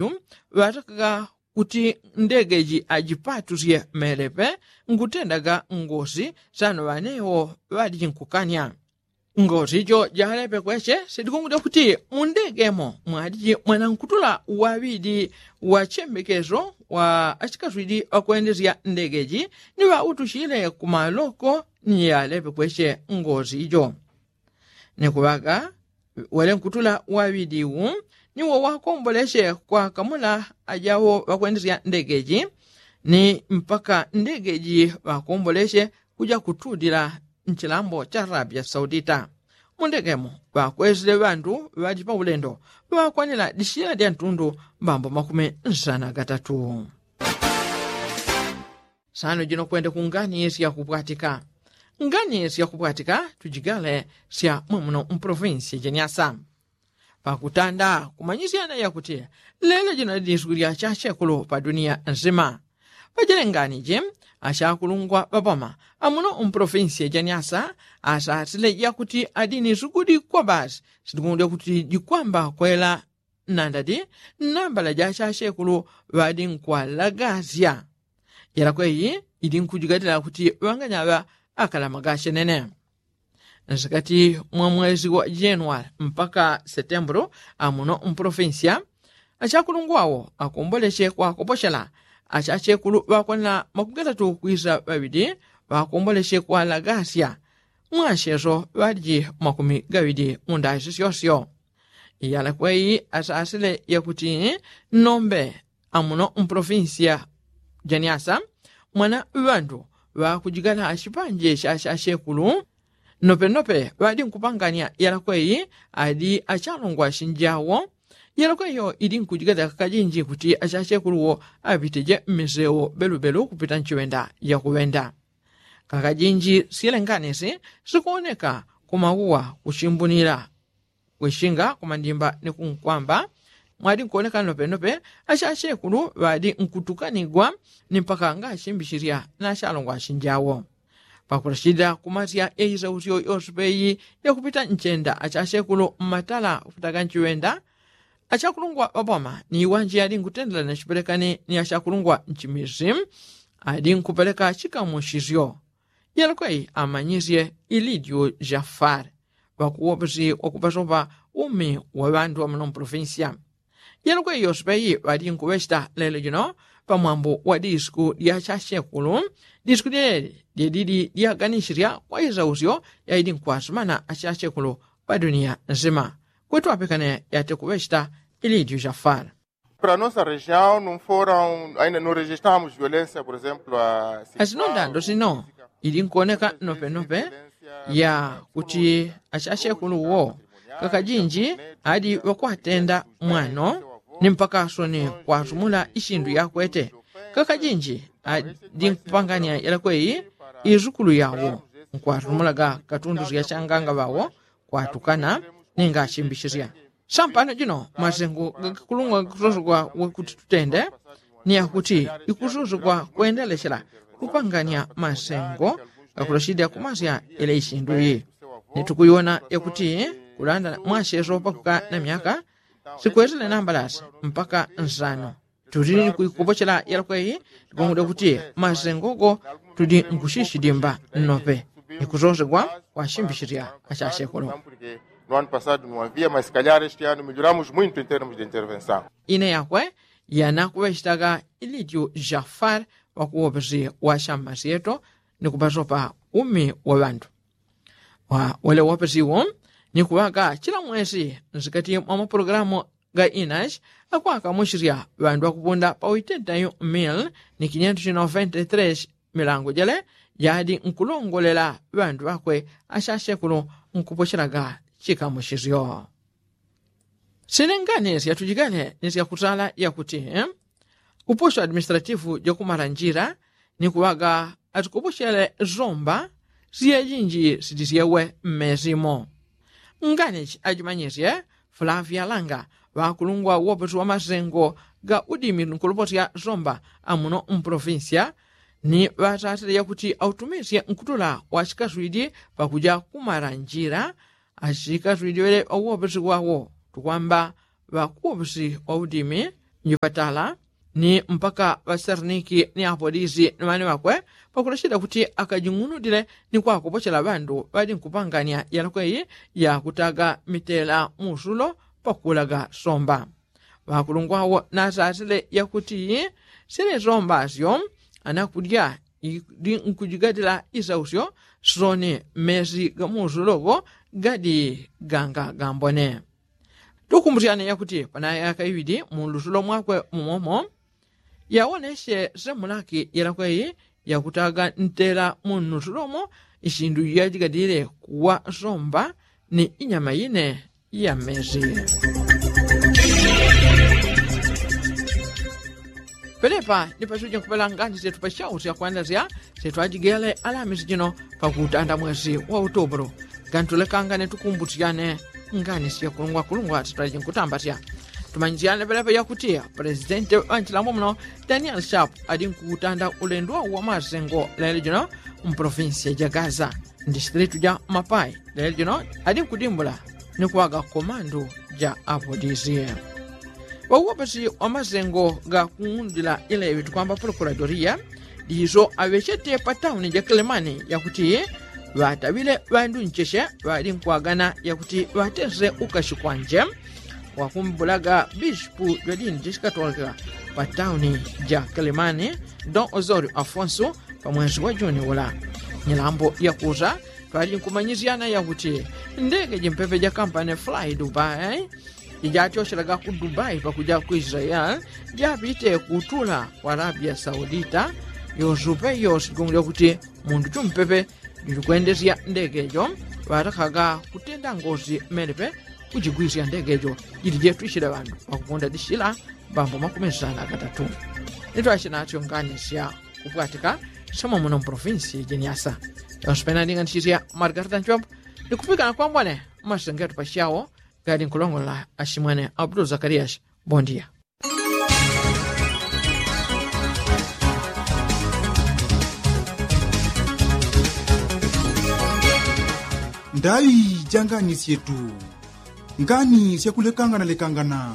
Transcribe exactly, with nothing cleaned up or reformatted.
ŵatakaga kuti ndege ji ajipatusye melepe nkutendaga ngosi sano ŵanewo ŵaliji nkukanya. Ngosi jo jalepe kweche sidikungudya kuti mundege mo mwaliji mwanankutula waŵidi wa chembekeso wa achikaswidi ŵakwendesya ndege ji ni ŵautuchile kumaloko ni yalepe kweche ngosi jo. Ni kuŵaga wele nkutula waŵidi wu ni wo wakomboleche kwakamula ajawo ŵakwendesya ndege ji ni mpaka ndege ji ŵakomboleche kuja kutudila nchilambo cha arabia saudita. Mundege mo ŵakwesile ŵandu ŵaji paulendo ŵakwanila dishila dya ntundu mbambo makumi nsana gatatu. Sano jino kwende kungani syakupwatika. Ngani syakupwatika tujigale sya mwemuno mpolofinsi jeniasa. Pakutanda kumanyisyana yakuti lelo jino dini sukuli ya chachekulu pa dunia nsima. Pajele ngani ji achakulungwa ŵapoma amuno mpolofinsi jeniasa asasile yakuti adini sukuli kwa basi sitikundya kuti jikwamba kwela nandadi nambala ja achachekulu ŵadi nkwalagasya. Yalakweyi ili nkujigatila kuti ŵanganyaŵa akalamagasye nene. Nsikati mwa mwezi wa januali mpaka setembulu amuno mpolofinsiya achakulungwawo akomboleche kwakopochela achachekulu ŵakwanila makumi gatatu kwisa ŵaŵidi ŵakomboleche kwalagasya. Mwasyeso ŵaliji makumi gaŵidi mundasi syosyo. Yalakweyi asasile yakuti nombe amuno mpolofinsiya janiasa mwana ŵandu ŵakujigala chipanje cha achachekulu. Nopenope ŵadi nkupanganya yalakweyi adi achalongwa chinjawo. Yalakweyo idi nkujigala kakajinji kuti achachekuluwo apiteje mmisewo belubelu kupita nchiŵenda yakuŵenda. Kakajinji sile nganisi sikuoneka kumauwa kuchimbunila kwishinga kumandimba ni kunkwamba. Mwadi nkuoneka nopenope achachekulu ŵadi nkutukanigwa ni mpaka ngachimbichilya na achalongwa achinjawo. Pakulachilila kumasya yaisausyo yosepeyi yakupita nchenda achachekulu mmatala kupitaga nchiŵenda. Achakulungwa ŵapoma ni iwanji adi nkutendela na chipelekani ni achakulungwa nchimisi adi nkupeleka chikamusisyo. Yalakweyi amanyisye ilidyo jafare ŵakuwopesi wakupasopa umi wa ŵandu ŵamuno mpolofinsiya. Yalakweyi yosepeyi ŵadi nkuŵecheta lelo jino pamwambo wa disiku dya chachekulu. Disiku dyeleli dyedidi dyaganisisya kwa isausyo yaidi nkwasumana achachekulu pa dunia nsima. Kwetu apekane yatekuŵecheta ilidyo jafare. Para nossa região não foram ainda não registramos violência por exemplo a asinondando sino ili nkuoneka nopenope ya kuti achachekuluwo kakajinji adi ŵakwatenda mwano ni mpaka soni kwasumula ishindu yakwete. Kakajinji adi nkupanganya yalakweyi isukulu yawo nkwasumulaga katundu syachanganga ŵawo kwatukana ninga achimbichisya. Sampano jino masengo gakikulungwa gakusosogwa wakuti tutende ni yakuti ikusosogwa kwendelechela kupanganya masengo gakulochidya kumasya yele ishindu iyi. Ni tukuiwona yakuti kulanda mwacheso pakuka na myaka sikwesele nambalasi mpaka nsano. Tudi ni kuikopochela yalakweyi tikungudya kuti masengo go tudi nkuchichidimba nnope ni kusosegwa kwa chimbichilya achachekolo. No ano passado no havia mas se calhar este ano melhoramos muito em termos de intervenção. Ine yakwe yanakuŵechitaga ilityu jafar wakuwopesi wa chamma syeto ni kupasopa umi wa ŵandu. Wa wele wopesiwo ni kuŵaga chila mwesi nsikati mwa mapulogalamu ga inachi akwakamuchisya ŵandu ŵakupunda pa witentayu mil ni kinyentu chinoventetresi milango jele jadi nkulongolela ŵandu ŵakwe achachekulu nkupochelaga chikamuchisyo. Silengane syatujigale ni syakutala yakuti uposho administratifu jakumala njila ni kuŵaga atikopochele zomba siyejinji sitisyewe mmesimo. Ngani ajimanyiche flavia langa ŵakulungwa woposi wa masengo ga udimi nkuluposya zomba amuno mpolofinsiya ni ŵatatile yakuti autumisye nkutula wachikaswidi pakuja kumala njila. Achikaswidi ŵele ŵakuwoposi wawo tukwamba ŵakuwoposi wa udimi Nyupatala ni mpaka ŵasariniki ni apolisi ni ŵane ŵakwe pakulachila kuti akajing'unudile ni kwakopochela ŵandu ŵali nkupanganya yalakwe iyi yakutaga mitela musulo pakuulaga somba. Ŵakulungwa wo nasasile yakuti sile somba syo anakulya ili nkujigatila isausyo soni mmesi ga musulo go gali ganga gambone. Tukumbusyane yakuti panayaka iŵili munlusulo mwakwe mumomo yawonesye semulaki yelakweyi yakutaga ntela munlusulo mo isindu yajigadile kuwa somba ni inyama ine ya mmesi. Pelepa ni pasuje nkupela ngani syetu pasyausya kwandasya syetu ajigele alamisi jino pakutanda mwesi wa utubulu. Gantulekangane tukumbusyane ngani syekulungwakulungwa sitwaji nkutambatya. Tumanyisyane pelepa yakuti presidenti wa nchilambo muno daniel sharp ali nkutanda ulendo wa masengo lelo jino mpolofinsi ya jagaza ndi sitilitu ja mapai lelo jino ali nkudimbula ni kuwaga komandu ja apolisi. Ŵauwopesi wa masengo ga kung'undila ileŵi tukwamba prokuradoria ndiso aŵechete pa tauni ja kilemani yakuti ŵataŵile ŵandu ncheche ŵali nkwagana yakuti ŵatese ukashi kwanje wakumbulaga bishipu jwa dini jishikatolika pa tauni ja kilemani don osorio afonso pa mwezi wa juni ula. Nyilambo yakusa twali nkumanyisyana yakuti ndege jimpepe ja kampani fly dubai ijatyoshelaga ku dubai pakuja ku israel japite kutula ku arabia saudita. Yosupe yosi jikungulya kuti mundu chumpepe jilikwendesya ndege jo ŵatakaga kutenda ngosi mmelepe kujigwisya ndege jo jili jetwisile ŵandu ŵakukunda dishila. Mbambo makumi nsana agatatu nitwasye natyo ngani sya kupwatika syomo muno mpolofinsi jiniasa. Yonse pena ndinganisisya margarita nchombo ndikupikana kwambone mmasengetu pasyawo gali nkulongolola ashimwene abdul zakarias. Bondia. Ndaŵi ja ngani syetu ngani syakulekangana lekangana.